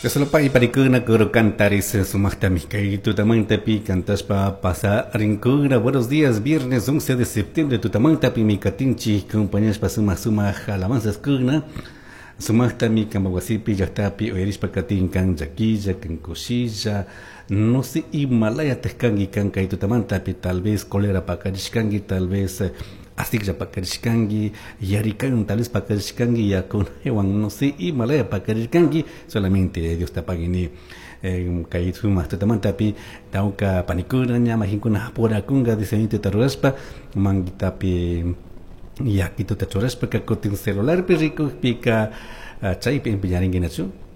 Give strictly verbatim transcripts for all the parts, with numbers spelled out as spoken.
Dios panikuna coro cantares sumaqtami kay tutamantapi cantashpa pasarinkuna. Buenos días, viernes once de septiembre tutamantapi mi katinchik compañashpa sumaq sumaq alabanzas kuna sumaqtami kanpak wasipi llaqtapi uyarishpa katin kan llaquilla kan kushilla no sé imalayataj kanki kan kay tutamantapi tal vez cólera pakarishkanki, tal vez asiklla pakarishkanki, yarikan tal vez pakarishkanki, yakunawan no sé imalaya pakarishkanki, solamente Dios ta pagini kay sumaq tutamantapi tawka panikuna ña majinkuna apurakunka diseñito rurashpa manguitapi yakituta churashpa kutin celularpi rikukpika chaypi empeñarinki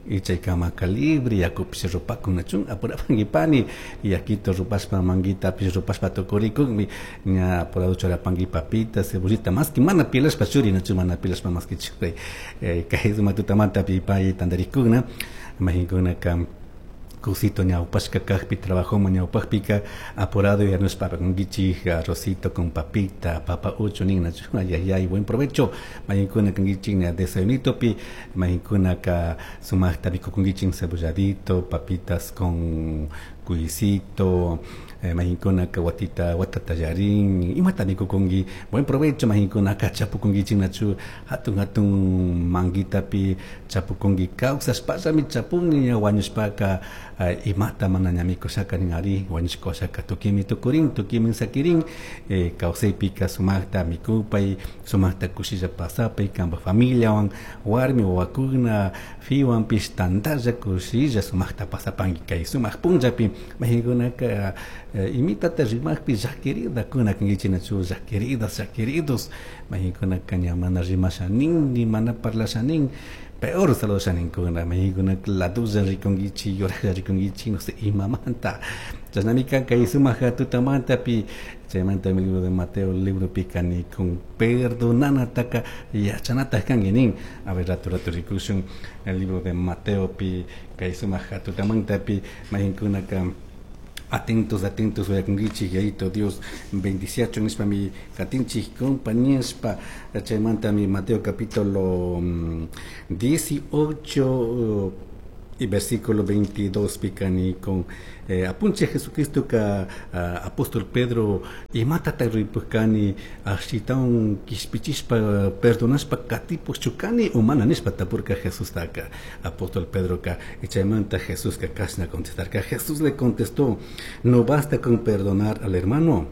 y chaykama libre yakupish rupakunachun apurapanki pani yakito rupashpa manguitapish rupashpa tukurikukmi ña apurado churapanki papita cebollita maski mana pilashpa churinachu mana pilashpa maski churay kay sumaq tutamantapi pay tantarikuna majinkunaka kusito ñawpashka kajpi trabajoman ñawpajpika apurado yarnushpa apakunkichik arrocito con papita papa uchu ninnachu ayayay buen provecho majinkuna kankichik ña desayunitopi majinkunaka sumaqta mikukunkichik cebolladito papitas con cuycito eh, majinkunaka watita watata yarin imata mikukunki buen provecho majinkunaka chapukunkichik nachu hatun hatun manguitapi chapukunki kawsashpallami chapuni ña wañushpaka uh, imata mana ña mikushaka nin ari wañushkashaka tukimi tukurin tukimi sakirin eh, kawsaypika sumaqta mikupay sumaqta kushilla pasapay kanpak familiawan warmi wawakuna fiwanpish tantalla kushilla sumaqta pasapanki kay sumaq punllapi majinkunaka eh, imitata rimaqpi llaquiridakuna kankichik nachu llaquiridas llaquiridos majinkunaka ña mana rimasha nin ni mana parlasha nin peor saludashaninkuna majinkuna ladulla rikunkichik yuraqlla rikunkichik no sé imamanta chashnami kan kay sumaq tutamantapi chaymanta el libro de Mateo libropika nikun perdonanataka yachanata kanki nin a ver rato rato rikushun el libro de Mateo pi kay sumaq tutamantapi majinkunaka atentos atentos uyakunkichik yayito Dios bendiciachun nishpa mi katinchik compañíaspa chaymanta mi Mateo capítulo dieciocho y versículo veintidós pikani con eh, apunche Jesucristo ka uh, apóstol Pedro imatata ripukani ashitaun kishpichishpa perdonashpa katipuk chukani umana nishpa tapurka Jesús taka apóstol Pedro ka y chaymanta Jesús ka kashna contestarka. Jesús le contestó: no basta con perdonar al hermano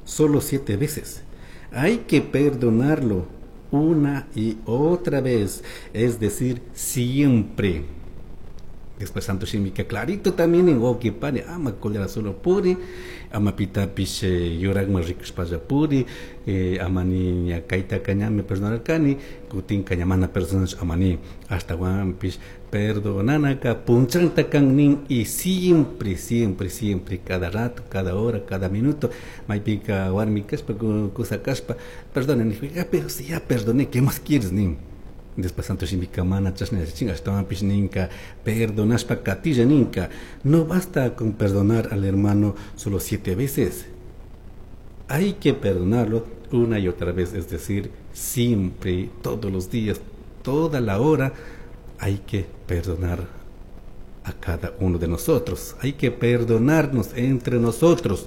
solo siete veces, hay que perdonarlo una y otra vez, es decir, siempre. Después Santo Shimika clarito también en wauki pani ama cólera solo puri ama pitapish yuraqman rikushpalla puri eh, amani ña kaytaka ñami perdonarkani kutinka ña mana perdonachu amani ashtawanpish perdonanaka punchanta kan nin y siempre siempre siempre cada rato cada hora cada minuto maypika warmi kashpa kusa kashpa perdona nijpika pero si ya perdoné, ¿qué más quieres nin? Después Santo Shimika mana chashna yachachin ashtawanpish ninka perdonashpa katilla ninka no basta con perdonar al hermano solo siete veces, hay que perdonarlo una y otra vez, es decir, siempre, todos los días, toda la hora hay que perdonar a cada uno de nosotros, hay que perdonarnos entre nosotros.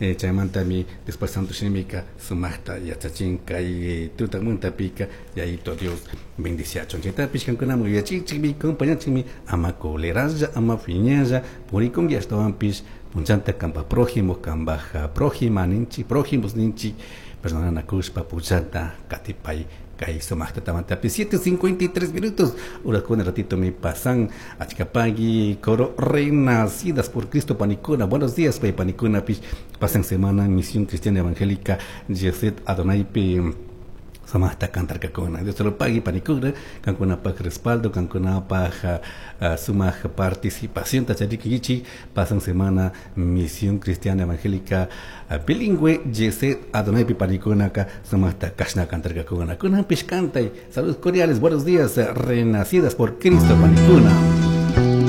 Eh, chaymantami después Santo Shimika sumaqta yachachin kay tutamantapika yayito Dios bendiciachun chaytapish kankunaman yuyachinchikmi compañanchikmi ama coleralla ama phiñalla purikunki ashtawanpish punchanta kanpak prójimo kanpak prójima ninchik prójimos ninchik perdonanakushpa punchanta katipay kay sumaq tutamantapi siete cincuenta y tres minutos urakuna ratito mi pasan achkapagui coro renacidas por Cristo panikuna buenos días pay panikuna pish pasan semana misión cristiana evangélica Yeset Adonaipi sumaqta cantarkakuna Dios te lo pague panikuna kankunapaj respaldo kankunapaj uh, sumaq participación tacharikichik pasan semana misión cristiana evangélica uh, bilingüe Yeset Adonaipi panikunaka sumaqta kashna cantarkakuna kunanpish kantay saludos cordiales buenos días uh, renacidas por Cristo panikuna.